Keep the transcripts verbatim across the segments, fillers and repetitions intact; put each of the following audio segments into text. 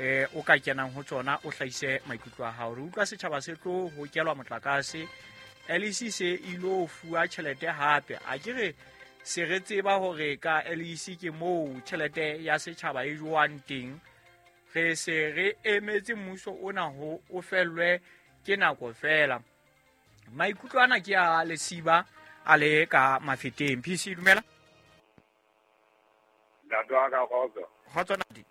eh o ka kenang ho tsona o hlahise maikutlo a hao. Re utlwa setjhaba se tlo hokelwa motlakase, L E C se ilo fuwa tjhelete hape. A ke re se re tseba hore ka L E C ke moo tjhelete ya setjhaba e jowang teng. Re se re emetse mmuso ona ho o fellwe ke nako fela. Maikutlo ana ke a Lesiba a le ka Mafeteng. P C dumela. Ntate wa ka kgotso. Kgotso ntate.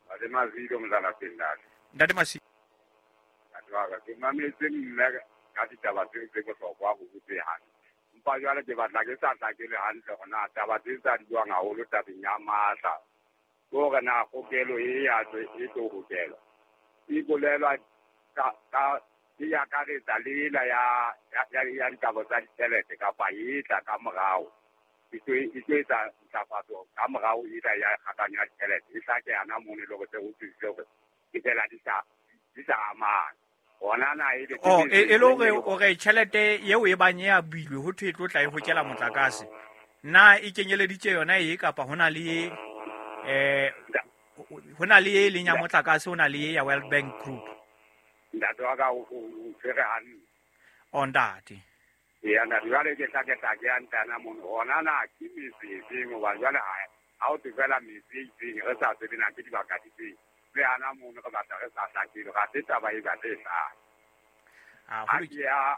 Ntate Masilo Mzalapeng ntate. Ntate Masilo. Ntate wa ka ke mametse mme ka ditaba tseo tse bohlokwa ho botse hantle. Empa jwale ke batla ke sa hlakele hantle hore na taba tse tsa di buang haholo tabeng ya matla. Ke hore na kgokelo e ya e tlo hokelwa. E bolelwa ka ka e akaretsa le ela ya ya ya ditaba tsa ditjhelete kapa e tla ka morao. E tlo e tlo etsa ntlafatso ka morao e tla ya kgakanyo ya ditjhelete. E hlake yana mono e le hore se ho thusitse hore ke fela di sa di sa amana. Ona na e le Oh, e le hore o re tjhelete eo e bang ya builwe ho thwe e tlo tla e hokela motlakase. Na e kenyeleditse yona e kapa hona le eh hona le e leng ya motlakase, hona le ya World Bank Group? Ntate wa ka o tshwere hantle. O ntate. Eya ntate, jwale ke tla ke tla ke ya ntana mono. Hona na ke metse e feng hoba jwale ha ha o thwe fela metse e itseng re sa tsebe na ke dibaka difeng. Le ana mono re batla re sa hlakile, ga se taba e batle e hlaha. Ah, Ha ke ya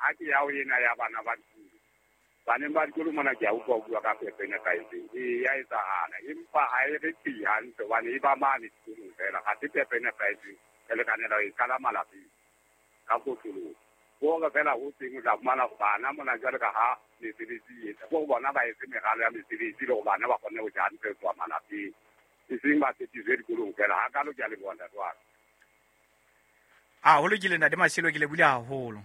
ha ke ya ho ena ya bana ba dikolo. Baneng ba dikolo mona ke a utlwa ho bua ka phepo e nepahetseng. E ya etsahala, empa ha e re tsi hantle hobane e ba mane dikolong fela. Ga se phepo e nepahetseng. Re lekanela ho e qala malapeng ka kotloloho. Hore fela ho teng o tla fumana hore bana mona jwale ka ha mesebetsi e etsa, bo bona ba etse meralo ya mesebetsi le hore bana ba kgone ho ja hantle ho tloha malapeng. E seng ba tshepiswe dikolong fela. Ha kalo ke a leboha ntate wa ka. Ah, ho lokile ntate Masilo, ke lebohile haholo.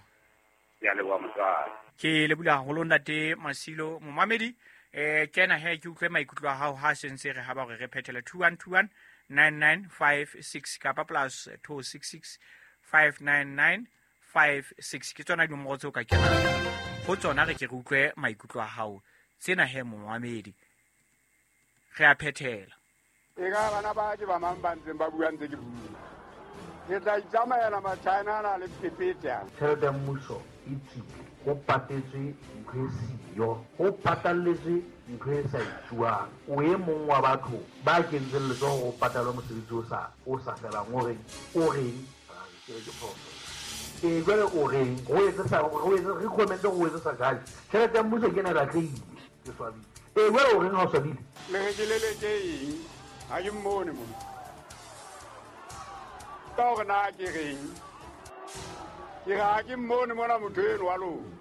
Ke a leboha motswadi. Ke lebohile haholo ntate Masilo. Momamedi, eh kena he ke utlwe maikutlo a hao ha se ntse re haba hore re phethele two one two one nine nine five six kapa plus two six six five nine nine five six. Ke tsona dinomoro tseo ka kenang ho tsona, re ke re utlwe maikutlo a hao. Tsena he momamedi, re a phethela. E ka bana ba ke ba mang ba ntseng ba bua ntse ke bua. Ke tla itsamaela Machina ana le phephethe ana. Tjhelete ya mmuso e tswile, ho patetswe ntho e siyo, ho patalletswe ntho e sa etsuwang. O e mong wa batho ba kentseng letsoho ho patalwa mosebetsi o sa, o sa felang, o reng, o reng, ke re ke phoso. E jwale o reng, ho etse sa, ho etse, re comment ho etse sa judge. Tjhelete ya mmuso ke ena e lahlehile, ke swabile. E jwale o reng ha o swabile? Le re ke leleke eng? Ha ke mmone mona. Ka hore na ke reng? Ke re ha ke mmone mona motho eno wa lona.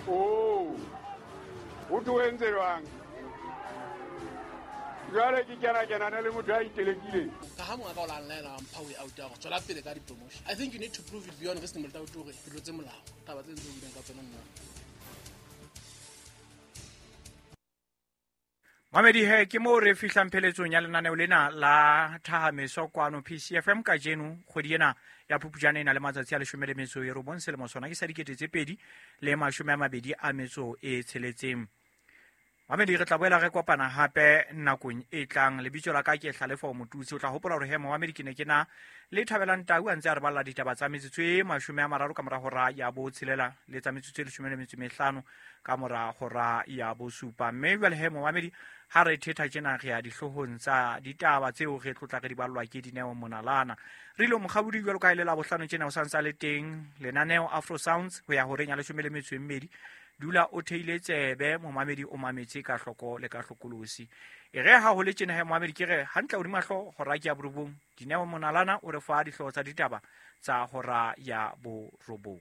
Oh, ho thwe o entse jwang? Jwale ke kena kenane le motho a itelekileng. Ka ha monga ka o la nlaela wa mpha way out ya hore tswela pele ka di-promotion. I think you need to prove it beyond reasonable doubt hore ke tlotse molao. Taba tse ntse o buileng ka tsona nna. Mamedi he, ke moo re fihlang pheletsong ya lenaneo lena la Thahameso kwano P C F M kajeno kgwedi ena ya Phupjane e na le matsatsi a leshome le metso e robong selemo sona ke sa dikete tse pedi le mashome a mabedi a metso e tsheletseng. Mamedi, re tla boela re kopana hape nakong e tlang. Lebitso la ka ke Hlalefo Motutsi. O tla hopola hore he momamedi ke ne ke na le Thabelang Tau a ntse a re balla ditaba tsa metsotso e mashome a mararo ka mora hora ya botshelela le tsa metsotso e leshome le metso e mehlano ka mora hora ya bosupa. Mme jwale he momamedi, ha re thetha tjena re ya dihloohong tsa ditaba tseo re tlotla re di ballwa ke Dineo Monalana. Re ile mokgabodi jwalo ka e le la bohlano tjena o sa ntsa le teng lenaneo Afro Sounds ho ya horeng ya leshome le metso e mmedi. Dula o theile tsebe momamedi, o mametse ka hloko le ka hlokolosi. E re ha ho le tjena he momamedi, ke re hantle hodima hlooho hora ke ya borobong. Dineo Monalana o re fa dihlooho tsa ditaba tsa hora ya borobong.